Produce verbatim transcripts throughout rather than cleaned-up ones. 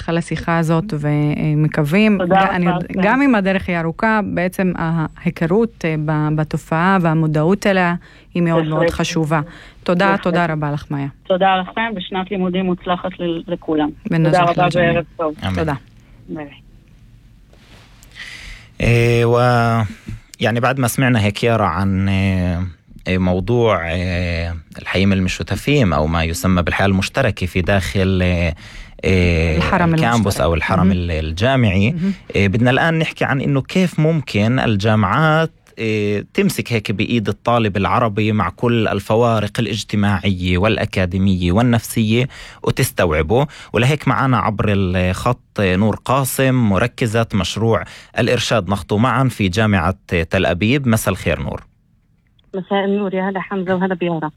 השיחה הזאת ומקווים גם אם הדרך היא ארוכה, בעצם ההיכרות בתופעה והמודעות אליה היא מאוד מאוד חשובה. תודה, תודה רבה לך מאיה. תודה לכם, ושנת לימודים מוצלחת לכולם. תודה רבה וערב טוב. תודה. ويعني بعد ما سمعنا هيك يارا عن موضوع الحيين المشتفين أو ما يسمى بالحياة المشتركة في داخل الكامبوس أو الحرم الجامعي، بدنا الآن نحكي عن إنه كيف ممكن الجامعات تمسك هيك بإيد الطالب العربي مع كل الفوارق الاجتماعية والأكاديمية والنفسية وتستوعبه. ولهيك معنا عبر الخط نور قاسم، مركزة مشروع الإرشاد نخطو معا في جامعة تل أبيب. مساء الخير نور. مساء النور، يا هلا حمزة وهلا بيارا.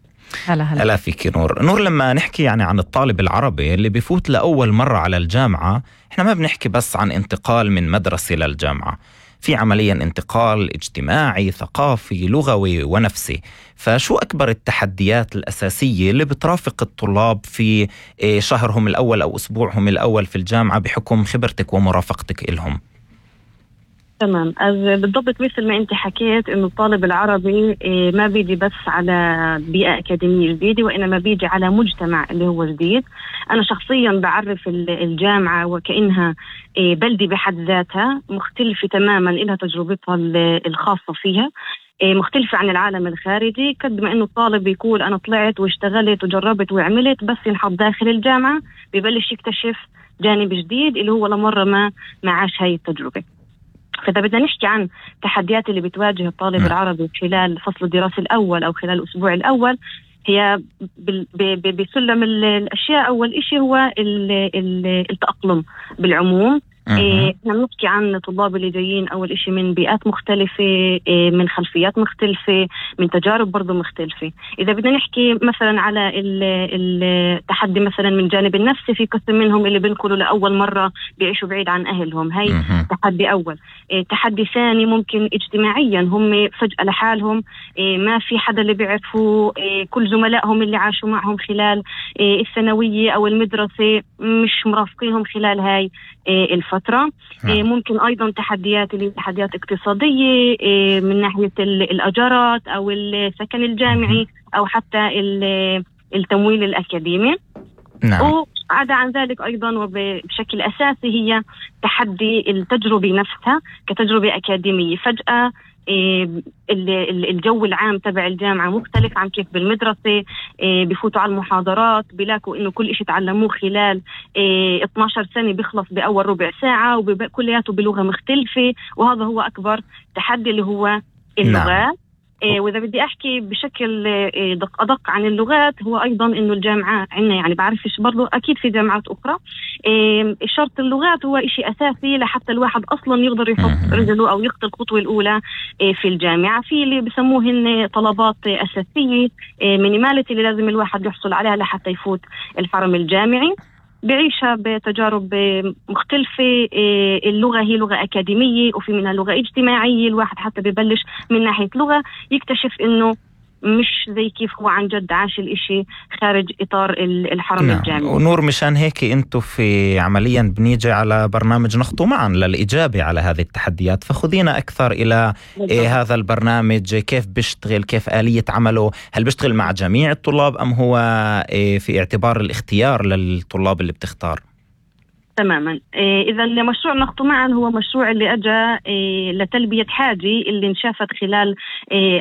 هلا هلا هلا فيك نور. نور، لما نحكي يعني عن الطالب العربي اللي بيفوت لأول مرة على الجامعة، احنا ما بنحكي بس عن انتقال من مدرسة للجامعة، في عمليا انتقال اجتماعي ثقافي لغوي ونفسي. فشو أكبر التحديات الأساسية اللي بترافق الطلاب في شهرهم الأول أو أسبوعهم الأول في الجامعة بحكم خبرتك ومرافقتك إلهم؟ تمام، بالضبط مثل ما انت حكيت انه الطالب العربي ما بيجي بس على بيئة أكاديمية جديدة، وإنما بيجي على مجتمع اللي هو جديد. أنا شخصيا بعرف الجامعة وكأنها بلدة بحد ذاتها، مختلفة تماما، إلها تجربتها الخاصة فيها، مختلفة عن العالم الخارجي. قد ما انه الطالب يقول انا طلعت واشتغلت وجربت وعملت، بس ينحط داخل الجامعة ببلش يكتشف جانب جديد اللي هو لمرة ما ما عاش هاي التجربة. فإذا بدنا نحكي عن تحديات اللي بتواجه الطالب م. العربي خلال فصل الدراسي الأول أو خلال الأسبوع الأول، هي بسلم الأشياء. أول إشي هو التأقلم بالعموم. إحنا بنحكي عن طلاب اللي جايين أول إشي من بيئات مختلفة، من خلفيات مختلفة، من تجارب برضو مختلفة. إذا بدنا نحكي مثلا على التحدي مثلا من جانب النفسي، في قسم منهم اللي بنقلوا لأول مرة بيعيشوا بعيد عن أهلهم، هاي تحدي أول. تحدي ثاني ممكن اجتماعيا، هم فجأة لحالهم، ما في حدا اللي بيعرفوا، كل زملائهم اللي عاشوا معهم خلال الثانوية أو المدرسة مش مرافقينهم خلال هاي الفترة. ممكن أيضا تحديات اللي تحديات اقتصادية من ناحية الأجارات أو السكن الجامعي أو حتى التمويل الأكاديمي. نعم. وعدا عن ذلك أيضا وبشكل أساسي هي تحدي التجربة نفسها كتجربة أكاديمية. فجأة الجو العام تبع الجامعة مختلف عن كيف بالمدرسة، بفوتوا على المحاضرات بيلاقوا إنه كل إشي تعلموه خلال اثني عشر سنة بيخلص بأول ربع ساعة وكلياته بلغة مختلفة. وهذا هو أكبر تحدي اللي هو اللغات. نعم. وإذا بدي أحكي بشكل دق أدق عن اللغات، هو أيضا إنه الجامعات عنا، يعني بعرفش برضو أكيد في جامعات أخرى، شرط اللغات هو إشي أساسي لحتى الواحد أصلا يقدر يحط رجله أو يخطي الخطوة الأولى في الجامعة. في اللي بسموهن طلبات أساسية مينيماليتي اللي لازم الواحد يحصل عليها لحتى يفوت الحرم الجامعي، بعيشها بتجارب مختلفة. اللغة هي لغة أكاديمية وفي منها لغة اجتماعية. الواحد حتى ببلش من ناحية لغة يكتشف إنه مش زي كيف هو عن جد عاش الاشي خارج إطار الحرم نعم. الجامعي. ونور، مشان هيك انتو في عمليا بنيجي على برنامج نخطو معا للإجابة على هذه التحديات، فخذينا أكثر إلى إيه هذا البرنامج، كيف بيشتغل، كيف آلية عمله، هل بيشتغل مع جميع الطلاب أم هو إيه في اعتبار الاختيار للطلاب اللي بتختار؟ تماما. إذا مشروع نخطو معا هو مشروع اللي أجا لتلبية حاجة اللي انشافت خلال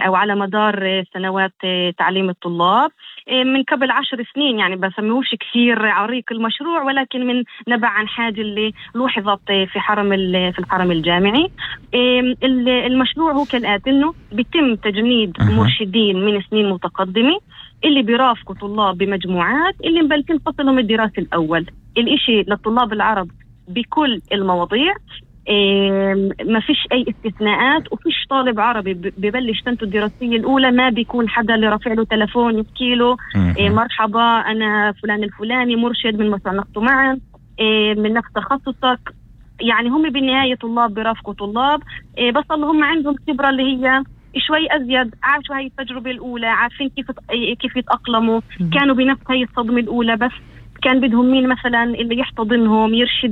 أو على مدار سنوات تعليم الطلاب من قبل عشر سنين. يعني بسميهوش كثير عريق المشروع، ولكن من نبع عن حاجة اللي لوحظت في حرم في الحرم الجامعي. المشروع هو كالآتي، إنه بيتم تجنيد مرشدين من سنين متقدمة اللي بيرافقوا طلاب بمجموعات اللي مبلشين فصلهم الدراسي الأول. الإشي للطلاب العرب بكل المواضيع، ما فيش أي استثناءات، وفيش طالب عربي ببلش سنته الدراسية الأولى ما بيكون حدا اللي رافع له تلفون يحكي له مرحبا أنا فلان الفلاني مرشد من مشروع نخطو معا من نفس تخصصك. يعني هم بالنهاية طلاب بيرافقوا طلاب، بس اللهم عندهم خبرة اللي هي شوي أزيد، عاشوا هاي التجربة الأولى، عارفين كيف كيف يتأقلموا، كانوا بنفس هاي الصدمة الأولى، بس كان بدهم مين مثلا اللي يحتضنهم يرشد